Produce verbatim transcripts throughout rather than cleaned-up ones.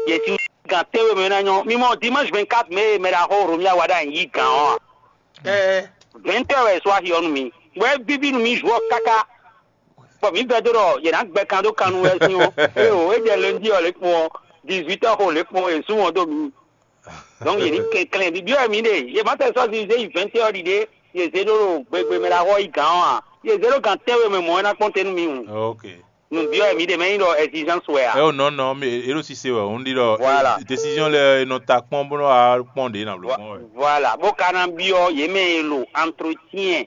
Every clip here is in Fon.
Yě si gan tɛ́nwe mɛ ná nyɔ́. Mi mɔ dimanche vingt-quatre mai mɛ ɖaxó Romia wa ɖo anyi yí gǎn ɔ́ a? Ɛɛ, Vingt heures wɛ è sɔ́ axi ɔ́ nú mi. Bɔ é víví nú mi jour ɔ́ káká. Bɔ mǐ vɛdó ɖɔ yě ná gbɛ kan dó kan nú wɛ sín ɔ́. Ée o, é jɛ lundi ɔ́ lě kpɔn ɔ́, dix-huit heures xo lě kpɔn è sú wɔn dó mi. Donc yě ní kɛnklɛ́n bibyɔ́ wɛ mǐ ɖe. Yě má tɛ sɔ́ si zé yi vingt heures ɖiɖe, yě zé ɖó ɖo gbegbe mɛ ɖaxó ɔ́ yi gǎn ɔ́ a? Yě zé ɖó gan tɛ́nwe mɛ mɔ̌ wɛ ná kpɔ́n te nú mi hǔn. Ok. Nǔbyɔ́ wɛ mǐ ɖe mɛ nyí ɖɔ exigence wɛ a? Ɛ o nɔ nɔ mi e ɖo sise wɛ, un ɖi ɖɔ Voilà. Décision lɛ e nɔ ta kpɔ́n bó nɔ wá kpɔ́n ɖě na bló kpɔ́n wɛ. Voilà, bó ka ná byɔ́ yě mɛ e ɖo entretien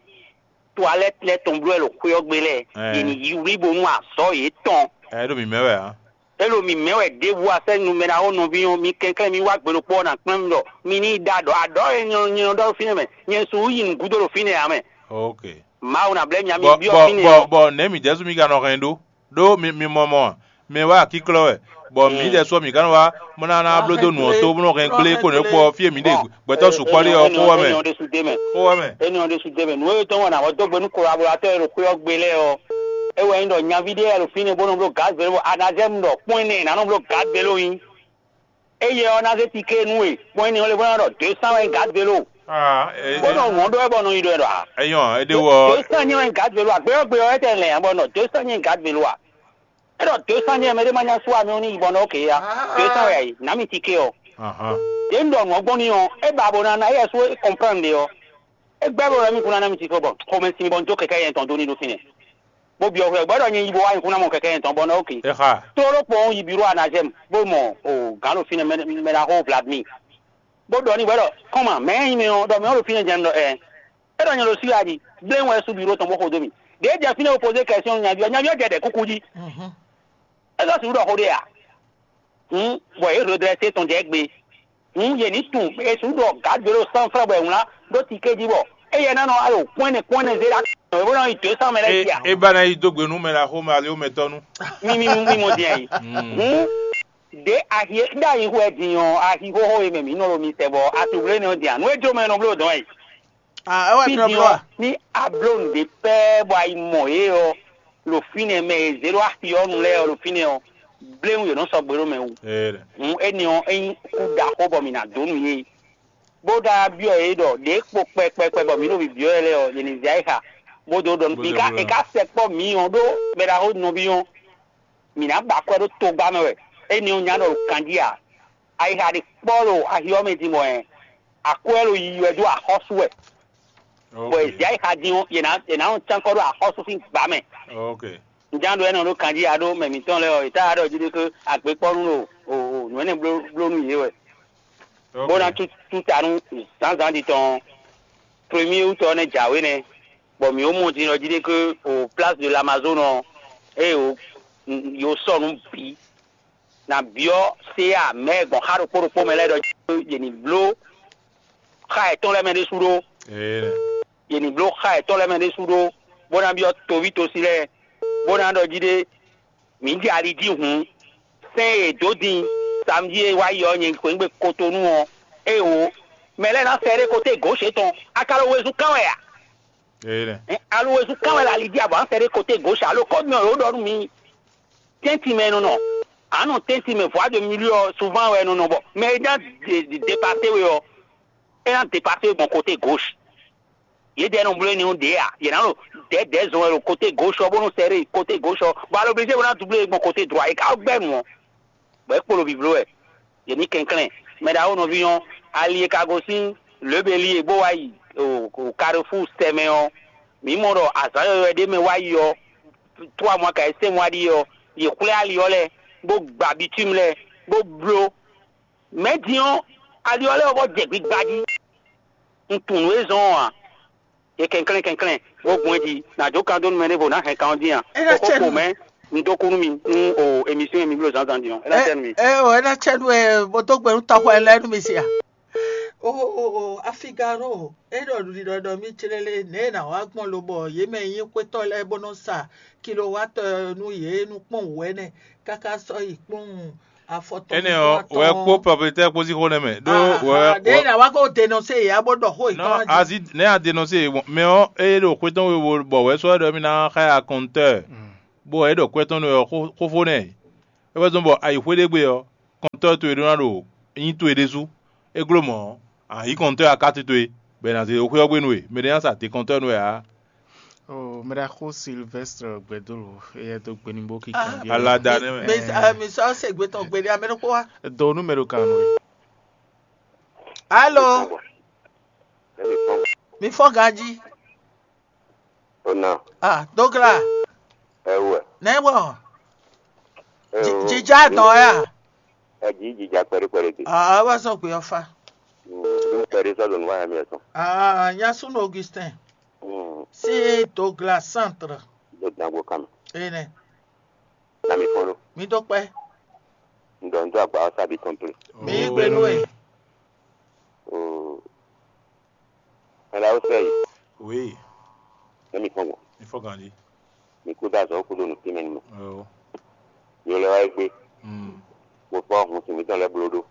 toilette lɛ́ɛ tɔn bló wɛ ɖo xwé ɔ́ gbe lɛ́ɛ, Ɛɛ. Yě ní yi wlí bónú azɔ̌ yětɔn. Ɛ ɖo mǐ mɛ wɛ ǎ. É ɖo mǐ mɛ wɛ ɖěbǔ a sɛ́ numɛ ná ó nɔví ɔ́, mi kɛnklɛ́n mi wá gbe ɖokpó ɔ́ ná kplɔ́n mi ɖɔ mi ní yi ɖó aɖɔ̌. Aɖɔ̌ e nyɛ nyɛ ɖɔ ɖo fínɛ́ mɛ, nyɛ su yi nǔgúdo ɖo fínɛ́ ǎ mɛ. Ok. Mawu ná blɛ́ mi ǎ, mi Bɔ byɔ́ bɔ fínɛ́ bɔ ɔ́. Bɔ nɛ̌ mǐdɛɛ sú mi ka nɔ hɛn ɖó? Ɖó mi mi mɔ mɔ mɛ wá akíklɔ́ wɛ, bɔ mǐdɛɛ sú ɔ́ mǐ ka nɔ wá bó ná ná bló dó nǔ ɔ́ tó bó nɔ hɛn gblé kó nǔ e kpɔ fí e mǐ ɖe gbɛtɔ́ sukpɔ́ ɖe ɔ́ xó wɛ mɛ. Énɛ́ ɔ́ ɖésú dé mɛ. Xó wɛ mɛ. Énɛ́ ɔ́ ɖésú dé mɛ. Nǔ e tɔn wɛ nǎ wɔ dó gbe nú kolabɔlatɔ́ e ɖo xwé ɔ́ gbe lɛ́ɛ ɔ́, é wɛ nyí ɖɔ nyaví ɖé wɛ ɖo fínɛ́ bó nɔ bló gǎ zěló, anazɛ́mu ɖɔ kpɔ́n énɛ́ ná nɔ bló gǎ zěló nyí. Éyɛ ɔ́ ná zé tiké nú we, kpɔ́n énɛ́ ɔ́ lé bó ná ɖɔ dě sán wɛ nyí gǎ zěló. Bó nɔ wɔ̌n ɖó wɛ bɔ nɔ yi ɖɔ ɛ ɖɔ a? Ɛyɔn, é ɖe wɔ. Dě sán nyí wɛ nyí gǎ zěló a? Gbé ɔ́ gbe ɔ́ wɛ tɛ lɛ̌n bɔ nɔ dě sán nyí gǎ zěló a? É ɖɔ dě sán nyí wɛ mɛ ɖé má nya sú amɛ ɔ́ ní yi bɔ nɔ ókè a? Dě sán wɛ a yi, nǎ mi tiké ɔ́. Ahan. Dě un ɖɔ nǔ ɔ́ gbɔn n'i ɔ́, é ba bó ná ná éyɛ́ sú é kɔnplán ɖe ɔ́. É gbɛ́ bó ná mì kún ná ná mì tito bɔ xomɛ sin mi bɔ un jó kɛkɛ́ yɛn tɔn dó ní ɖó fínɛ́. Bó byɔ́ xwé ɔ́, gbɛ́ ɖɔ nyɛ yi bo wá nyɛ kún ná mɔ kɛkɛ́ yɛn tɔn bɔ ná ókè. É xa. Tlóló kpɔ́n yi biro anazɛ́m bó mɔ o gǎn ɖo fínɛ́ mɛ mɛ ná xó Vladimir. Bó ɖɔ n'i wɛ ɖɔ kɔ́n ma mɛ̌ nyí mɛ ɔ́ ɖɔ mɛ ɔ́ ɖo fínɛ́ jɛ́n ɖɔ ɛ. É ɖɔ nyɛ ɖo Siradi, bléwún wɛ sú biro tɔn bó xo dó mì. Ɖěe jɛ fínɛ́ wo pozé kɛsyɔn nyaví ɔ́, nyaví ɔ́ jɛ ɖɛ kúkú jí. É sɔ́ sixú ɖɔ xó ɖé a? Hǔn bɔ yě redrɛsé tɔn jɛ gbe. Hǔn yě ní tunwun Jezu ɖɔ gǎdwe ɖo sánflɛ́ bɔ è wlán ɖó tiké jí bɔ éyɛ́ ná nɔ alɔ kpɔ́nɛ́ kpɔ́nɛ́ zé ɖó akɔ́nmɛ bó ná yi dǒ sán mɛ lɛ́ɛ É, jí ǎ. É ba ná yi dó gbe nú mɛ ɖaxó mɛ alé mɛ tɔ́ nu. Mímí mímɔ din ayi. Hǔn ɖě ahi e ɖó ayi xwɛ din ɔ́, ahi xóxó e mɛ mǐ nɔ ɖo mi sɛ bɔ atublénɛ ɔ́ din ǎ. Nú é jó mɛ nɔ bló dɔn ayi. Ah, é wɛ Fí din ɔ́, ní a bló nǔɖé pɛ́ bɔ a yi mɔ yě ɔ́, ɖo fínɛ́ mɛ e zě ɖó axi ɔ́ nu lɛ́ɛ ɔ́ ɖo fínɛ́ ɔ́, bléwún yě nɔ sɔgbe ɖó mɛ wú. Hǔn énɛ́ ɔ́, é nyí kú ɖaxó bɔ mǐ ná dó nú yě. Bó ɖá byɔ́ yě ɖɔ ɖě kpo kpɛkpɛkpɛ bɔ mǐ ɖo bǐbyɔ́ yɛ lɛ́ɛ ɔ́, yě ní zɛ ayǐ xa, bó dó ɖɔ nú mǐ ká è ká sɛkpɔ́ mǐ ɔ́ ɖó mɛ ɖaxó nɔví ɔ́, mǐ ná ba akwɛ́ ɖó togba mɛ wɛ. Énɛ́ ɔ́ nya ɖɔ ɖo kanjí ǎ. Ayixa ɖe kpɔ́ ɖo axi ɔ́ mɛ din bɔ hɛn akwɛ́ ɖo yiyi wɛ dó axɔ́sú wɛ. Bɔ è zě ayixa din ɔ́, yě ná yě ná nɔ cán kɔ ɖó axɔ́sú sín gbǎ mɛ. Ok. Ǹján ɖo ɛnɛ ɖó kanjí aɖó mɛ mǐtɔn lɛ́ɛ ɔ́, è tá ɖɔ jí ɖé ké agběkpɔ́nú ɖo o o nǔ énɛ́ bló bló nú yě wɛ. Ok. Bó ná tú tú ta nú zǎnzǎn ɖi tɔn ɔ́, premier août ɔ́ nɛ́ jǎwe nɛ́, bɔ mǐ ó mɔ din ɖɔ jí ɖé ké o place de l'Amazone ɔ́, ée o yo sɔ nǔ bǐ na byɔ́ séya mɛ gbɔn xá ɖokpó ɖokpó mɛ lɛ́ɛ ɖɔ yě ní bló xá yětɔn lɛ́ɛ mɛ ɖésú ɖó. Yě ní bló xá yětɔn lɛ́ɛ mɛ ɖésú ɖó, bó ná byɔ́ toví tosi lɛ́ɛ, bó ná ɖɔ jí ɖé, mǐ jɛ ali jí hǔn, sɛ́n e è dǒ din samedi e wá yi ɔ́, nyɛ xweyǐgbe Kotonu ɔ́, ée wǒ, mɛ lɛ́ɛ ná sɛ ɖé koté gǒ tɔn, a ka ɖo wezun kán wɛ a? Aluwezun kán wɛ la li jí abɔ an sɛ ɖé koté gauche alo kɔ́ mi ɔ́ ɖɔ nú mi tɛ́ntin mɛ nɔ nɔ. An nɔ tɛ́ntin mɛ voie de milieu ɔ́ souvent wɛ nɔ nɔ bɔ mɛ e ná dépasé we ɔ́, é ná dépasé we gbɔn koté gauche. Yědɛɛ nɔ bló énɛ́ ɔ́ ɖě a? Yě ná nɔ dɛ̌dɛ̌ zɔn wɛ ɖo koté gauche ɔ́ bónú sɛ ɖé koté gauche ɔ́, bɔ alo obligé bó ná doublé we gbɔn koté droit, é ka gbɛ́ nǔ ɔ́. Bɔ é kpo ɖo vǐvló wɛ. Yě ní kɛnklɛ́n. Mɛ ɖaxó nɔví ɔ́, ali e ka gosín Lěbeli e bó wá yi Karefúu sɛ mɛ ɔ́, mǐ mɔ ɖɔ azǎn yɔywɛ ɖé mɛ wá yi ɔ́, tró amɔ ka yi sɛ́n wá ɖíe ɔ́, yě xwlɛ́ ali ɔ́ lɛ́ɛ, bó gba bitúmu lɛ́ɛ, bó bló. Mɛ̌ din ɔ́, ali ɔ́ lɛ́ɛ ɔ́ vɔ jɛ gbigba jí. Un tunwun nǔ e zɔ́n ɔ́ ǎ. Yě kɛnklɛ́n kɛnklɛ́n, bó gbɔn jí, nǎ jó kan dó nú mɛ ɖěvo nǎ hɛn kan ɔ́ dín a? É ná Xó cɛ ko nú mɛ, un dó kú nú mi, nú o emisɔn e mi bló zǎnzǎn din ɔ́, é ná cɛ nú mi. Ɛ o, é ná cɛ nú ɛ, bó dó gbe nú tɔxɔ ɛ lɛ́ɛ nú mi sia. O o o, Afigaro, é ɖɔ ɖiɖɔ ɖɔ mí clélé, nɛ̌ è nǎ wá gbɔn lobɔ yě mɛ e nyí xwétɔ́ lɛ́ɛ bó nɔ́ sa kilowatɔ nú yě nú kpɔ́n wǔ ɛnɛ, káká sɔ́ yi kpɔ́n afɔ tɔn. Énɛ́ ɔ́, wɛ kpó pɔpletɛ́ kpó sín xó nɛ́ mɛ ɖó wɛ ɖě ná wá kó denɔse yě abó ɖɔ xó yětɔn. Asi nɛ́ a denɔse yě gbɔn mɛ ɔ́, é ɖo xwé tɔn we bɔ wɛ sɔ́ ɖɔ mì ná xa akɔntɔ́, bó wɛ é ɖɔ kwɛ́ tɔn nú wɛ xófó nɛ́. É wɛ zɔ́n bɔ ayǐxwé ɖé gbe ɔ́, kɔntɔ́ towe ɖó ná ɖo nyí towe ɖésú. É gló mɔ̌, a yǐ kɔntɔ́ akátú towe, bɔ è nǎ zé ɖó xwé ɔ́ gbe nú we. Mɛ ɖé ná sa te kɔntɔ́ nú we ǎ. Oh, mɛ ɖaxó Sylvestre Gbɛdolo, éyɛ́ dó gbe ní bó kí kanbyɔ́. Ala da nɛ́ mɛ. Mi mi sɔ se gbe tɔn gbe ɖé amɛ ɖokpó wa. Do nú mɛ ɖo kan nú we. Alo, mi fɔ ganji. Ona. Ah, dogla. Ewe. Nɛ bɔ. Ewe. Jija dɔn ya. Eji jija kpɛɖe kpɛɖe de. Ah, wa sɔ gbe ɔfa. Dum kpɛɖe sɔ donu wa mi ɛsɔn. Ah, nyasun Augustin. Mm. Si dogla centre. Do dangbo kame. Ene. Na mi fɔn ɖo. Mi dó kpɛ. Ŋdɔ ŋdɔ agba ɔsa bi tɔn ple. Mi yí gbe nú e. Oo. Mɛ ɖaxó sɛ yi. Oui. Ne mi fɔn gbɔn. Mi fɔ ganji. Mi kú dá azɔ kú ɖo nǔ tínmɛ nú mɛ. Oh. Yo lɛ wá yi gbé. Mm. Mo fɔ hun sin mitɔn lɛ bló ɖó.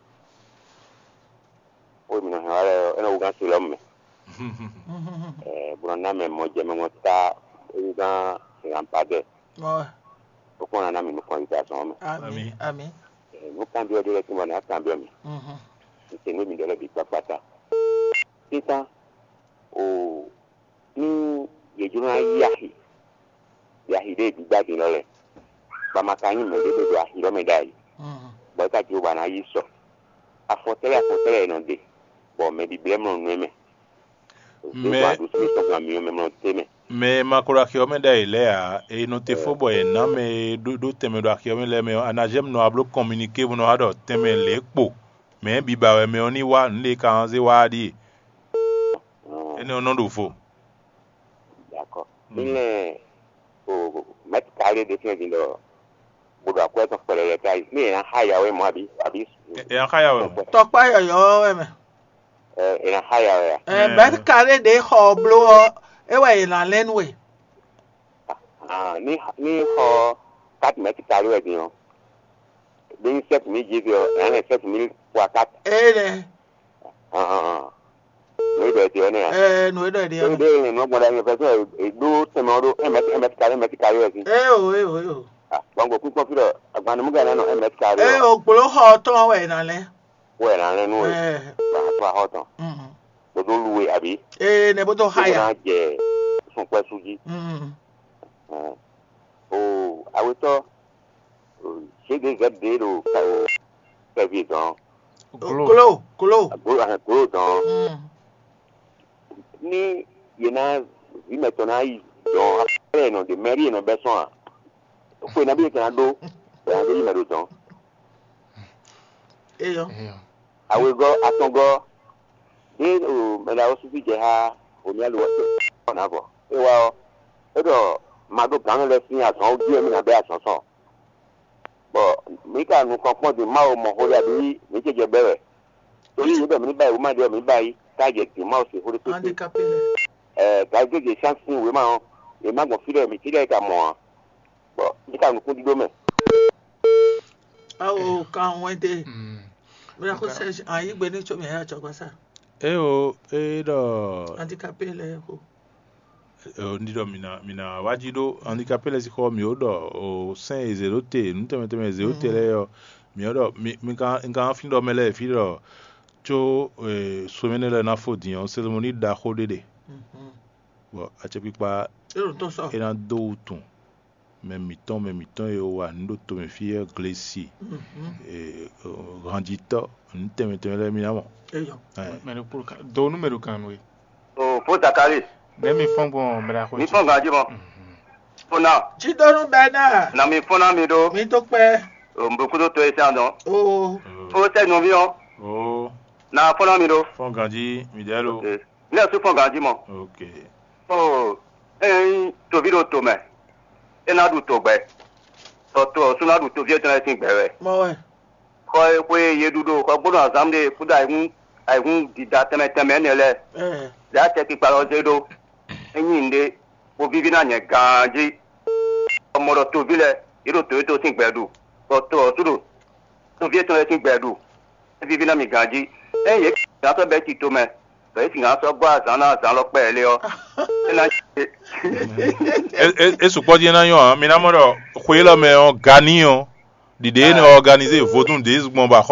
Wo mi nɔ hɛn wá lɛ ɔ́, é nɔ wú gán se lɔ mɛ. Ɛ bó nɔ ná mɛ mɔ jɛ mɛ mɔ tá é wú gán lampadɛ. Ó kpɔ́n ná ná mi nukɔn yi dá azɔn mɛ. Ami, ami. Ɛ nú kanbyɔ́ ɖé lɛ́ɛ tún bɔ ná kanbyɔ́ mi. Mhm. N se nú mi ɖɔ lɛ́ bǐ kpákpá ta. Títán o ní yě jló ná yí axi, yě axi ɖé gbígbá din lɔ lɛ́ɛ, bɔ a ma ka nyí mɛ ɖé ɖo axi ɔ́ mɛ ɖ'ayǐ, bɔ é ka jló bɔ a nǎ yí sɔ. Afɔtɛ́lɛ́ afɔtɛ́lɛ́ è nɔ ɖe, bɔ mɛ bǐblɛ́ mlɔ nú ɛ mɛ. Mɛ- Zěgbɔn aɖusí tɔn gan myɔ mɛ mlɔ té mɛ. Mɛ e ma ko ɖo axi ɔ́ mɛ ɖ'ayǐ lɛ́ɛ ǎ, è nɔ te fó bɔ è nǎ mɛ e ɖó ɖó tɛnmɛ ɖo axi ɔ́ mɛ lɛ́ɛ mɛ ɔ́, a nǎ jɛ nǔ ɔ́ wá bló kɔminikée bó nɔ wá ɖɔ tɛnmɛ lě kpo. Mɛ e bǐ ba wɛ mɛ ɔ́ ní wá nǔ e ka nɔ zé wá ɔ́ ɖíe. Énɛ́ ɔ́ nɔ ɖo vo. D'accord. Ní lɛ́ o mɛ̌t kaɖé ɖé fínɛ́ din ɖɔ bó ɖo akwɛ́ tɔn kpɛɖɛɖɛ káyí. Ní è nǎ xá yǎ wɛ mɔ̌ abǐ abǐ Ɛ ɛ xá ya wɛ mɔ. Tɔkpá yɔyɔ̌ wɛ mɛ. Ɛ è nǎ xá yǎ wɛ a? Ɛ mɛ̌t kaɖé ɖě xɔ ɔ bló ɔ́, é wɛ è nǎ lɛ́n nú we. Ah, ní ní xɔ quatre mètres carrés wɛ din ɔ́, bí ní sept mille dix ɔ́, ɛ hɛn sept mille fois quatre. Énɛ́. Ah, ah, ah. Nǔ e ɖɔ ɛ din ɔ́ nɛ́ a? Ɛ nǔ e ɖɔ ɛ din ɔ́. Tóbi ɖé lɛ́ɛ nɔ gbɔn ɖ'ayǐ fɛ́sɔ́n è ɖó tɛnmɛ ɔ́ ɖó un mètre un mètre carré un mètre carré wɛ sín. É o é o é o. Ah, gbɔn gbɔ kpínkpɔ́n fí ɖɔ agban nú mú gǎn ná nɔ un mètre carré. É o gblǒ xɔ ɔ́ tɔn wɛ è nǎ lɛ́n. Wɛ è nǎ lɛ́n nú we. Ɛ. Gbɔn xɔ tɔn. Mm. Bó dó lu we àbí? Ee nɛ bó dó Bó háya. Ná jɛ sun kpɛ́ sú jí. Mm. Ɔn. O awetɔ G D Z ɖo kɛvi dɔn. Glo. Glo glo. Glo ahɛn glo dɔn. Mm. Ní yě ná vǐ mɛtɔn ná yi dɔn afɛ yě nɔ ɖe mɛrí yě nɔ bɛ́ sɔn a? Xwe nabí yě tɛn ná ɖó bɔ yě ná ɖó yi mɛ ɖo dɔn. Eyɔ. Eyɔ. Awegɔ́ atɔngɔ́ ɖé o mɛ ɖaxó súsú jɛ xá omi alu ɔ́ nǎ vɔ. É wá ɔ́, é ɖɔ ma ɖó gǎn lɛ́ɛ sín azɔ̌ ɔ́ jí wɛ mì nǎ bɛ́ azɔ̌ sɔn. Bɔ mǐ ka nukɔn kpɔ́n din Mawu mɔ xó ɖé abǐ mǐ ce jɛ bɛ́ wɛ. Torí yě ɖɔ mǐ ní ba yi wǔ ma ɖe ɔ́, mǐ ba yi, tá jɛ din Mawu se xó ɖé kpékpé. Handicapé lɛ. Ɛɛ gǎgégě sín sín wěma ɔ́, yě má gbɔn fí ɖé mǐ cí ɖɛ́ ka mɔ ǎ. Bɔ mǐ ka nukún ɖíɖó mɛ. Awo kan wɛn de. Mm. Mira ko sɛ ayi gbe ní tso mi ya tsɔ gbasa. Eo, e ɖɔ Handicapé lɛ ko. Eo, ndi ɖɔ mi na mi na wá jí ɖó handicapé lɛ sín xɔ mi ó ɖɔ o sɛn e zě ɖó te nú tɛnmɛ tɛnmɛ e zě ɖó te lɛ ɔ mi ó ɖɔ mi mi kan mi kan fín ɖɔ mɛ lɛ fí ɖɔ tso somɛnɛ lɛ ná fó din ɔ cérémonie ɖaxó ɖé ɖe. Bɔ acɛkpikpa Ero tɔn sɔ. E ná dó wutun mɛ mǐtɔn mɛ mǐtɔn e wa nǔ ɖo tomɛ fí ɔ́ glesi hanjitɔ́ nǔ tɛnmɛ tɛnmɛ lɛ́ɛ mì ná mɔ. Eyɔ. Mɛ ɖo kpolo kan do nú mɛ ɖo kan nú we. O fo Zakari. Nɛ mi fɔn gbɔn mɛ ɖaxó. Mi fɔn ganji mɔ. Fona. Tsidonu bɛ náà. Na mi fɔn ná mi ɖó. Mi tó kpɛ. O n bɛ kudo to esi andɔn. Oo. O sɛ nɔvi ɔ. Oo. Na fɔn ná mi ɖó. Fɔn ganji mi dɛ lo. Ok. Ne ɔ sú fɔn ganji mɔ. Ok. Ɔ ényí toví ɖo to mɛ, é ná ɖu togbɛ, bɔ to ɔ́ sú ná ɖu toví étɔn lɛ́ɛ sín gbɛ wɛ. Mɔ wɛ. Xɔ e xwe e yě ɖu ɖo xɔgbónu azǎn ɖe kúdó ayǐhún ayǐhún dida tɛnmɛ tɛnmɛ énɛ́ lɛ́ɛ, Ɛɛ. Lě acɛkpikpa lɔ zé ɖó. É nyí nǔɖé, bó víví ná nyɛ ganjí, bɔ mɔ ɖɔ toví lɛ́ɛ, yě ɖo to étɔn sín gbɛ ɖu, bɔ to ɔ́ sú ɖo toví étɔn lɛ́ɛ sín gbɛ ɖu. É víví ná mi ganjí. Ényí yě gǎn sɔ́ bɛ́ tito mɛ, bɔ yě sixú sɔ́ gɔ́ azǎn ná azǎn lɔ kpɛɖé ɔ́, é ná É é é sukpɔ́ dín é ná nyɔ́ ǎ. Mi ná mɔ ɖɔ xwe élɔ́ mɛ ɔ́, Gani ɔ́, Ɖiɖe énɛ́ ɔganizé vodún ɖěe gbɔn bɔ axɔ́